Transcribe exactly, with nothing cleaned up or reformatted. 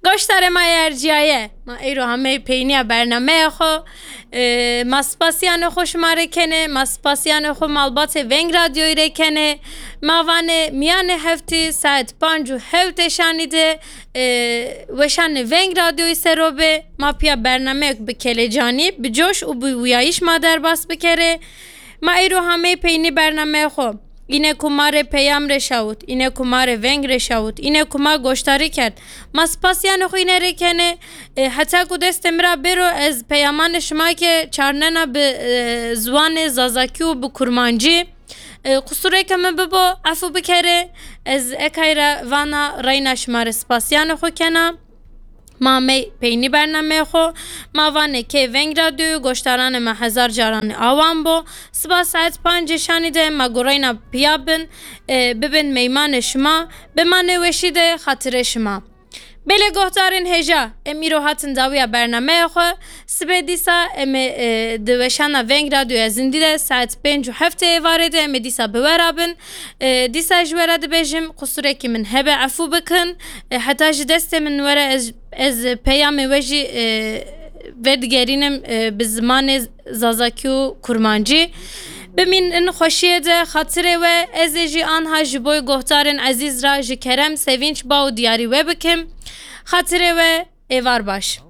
Goştarê ma yê erciyaye, ma eyro hamey peyniya bernameya xo. E, ma spasiyanê xo şima rê kenê, ma spasiyanê xo malbatê Veng Radyoyî rê kenê. Ma vanê miyanê heftî saet panc û hewtê şanî de, e, weşanê Veng Radyoyî sero bê. Ma piya bernameyek bi kelecanî, bi coş û bi wiyayîş ma derbas bikerê. Ma eyro hamey peynî bernameyê xo. Îne ku ma rê peyam rê şawit, îne ku ma rê veng rê şawit, îne ku ma goştarî kerd. Ma spasiyanê xwe îne rê kenê. E, heta ku destê min ra bêro ez peyamanê şima ke çarnena bi, e, ziwanê zazakî û bi kurmancî. E, qusureke min bibo, efû bikerê. Ez ekay re vana reyna şima rê spasiyanê xwe kena. Ma mey peynî bernameyê xo, ma vanê kê Veng Radyoyê, goştaranê me hezar caranê awan bo. Siba saet pancê şanî de ma gureyna piya bin, e, bibin meymanê şima, bi ma nêweşî de xatirê şima. Belê gohdarên hêja, em îro hatin dawiya bernameyê xwe. Sibê dîsa em ê, e, di weşana Veng Radyoya Zindî de saet pênc û heftê êvarê de em ê dîsa bi we ra bin. E, dîsa ji we re dibêjim, qusurekî min hebe, efû bikin. E, heta ji destê min were ez, ez peyamê we jî, e, vedigerînim, e, bi zimanê zazakî û kurmancî. Bimînin xweşiyê de, xatirê we, ez ê jî anha ji bo gohdarên ezîz ra ji kerem, sevinç, ba û diyarî we bikim. Xatirê we, êvar baş.